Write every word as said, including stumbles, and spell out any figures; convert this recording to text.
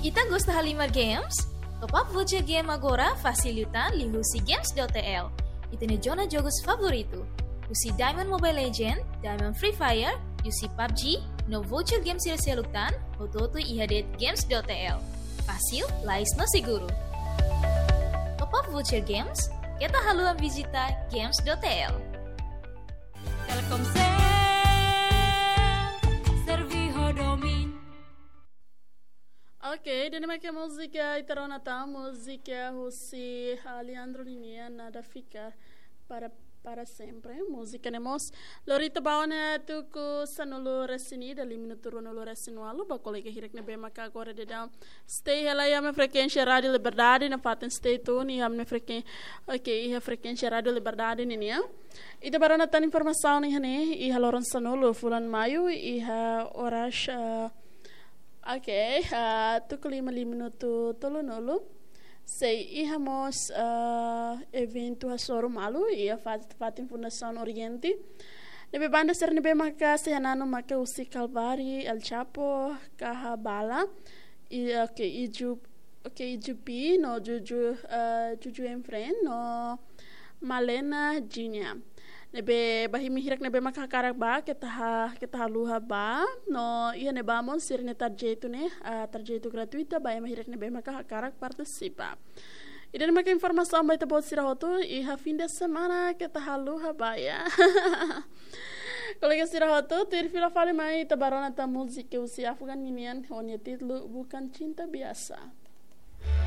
Ita gosta halimar games? Top up voucher game agora fasil liután liuhusi games dot T L. Ita-nia zona jogus favoritu. Husi Diamond Mobile Legend, Diamond Free Fire, U C PUBG, no voucher game sira seluk tan, hotu-hotu iha de'it games dot T L. Fasil, lais no seguru. Top up voucher games, keta haluha vizita games dot T L. Telkomsel, serve ho domin. Ok, ida-ne'e mak múzika ita rona tan, múzika husi Alejandro nian, Nada Fica para, para Sempre. Múzika ne'e mós lori ita ba ona tuku sanulu-resin-ida, lima minutu ruanulu-resin-ualu, ba kolega hirak ne'ebé maka agora daudaun stay hela iha ami-nia frekuénsia Rádio Liberdade, nafatin stay tune iha ami-nia frekuén-, ok, iha frekuénsia Rádio Liberdade ninian. Ita bá rona tan informasaun iha ne'e, iha loron sanulu fulan Maiu, iha oras, eh, ok, eh, tuku lima, lima minutu tolunulu. Sei iha mós, eh, eventu hasoru malu iha fat-, fatin Fundasaun Oriente. Ne'ebé banda sira ne'ebé maka sei hananu maka husi Kalvari, El Chapo, Kaha Bala, i, ok, Iju, ok, Iju P, no Juju, eh, Juju and Friend, no Malena Junior. Ne'ebé ba imi hirak ne'ebé maka hakarak bá, keta ha-, keta haluha bá, no iha ne'ebá mós sira-nia trajetu ne'e, ah, trajetu gratuita ba imi hirak ne'ebé maka hakarak partisipa. Ida-ne'e maka informasaun ba ita-boot sira hotu, iha fim de semana keta haluha bá ya. Kolega sira hotu, tuir fila fali mai ita bá rona tan múzika husi Afgan ninian, ho nia títulu Bukan Cinta Biasa.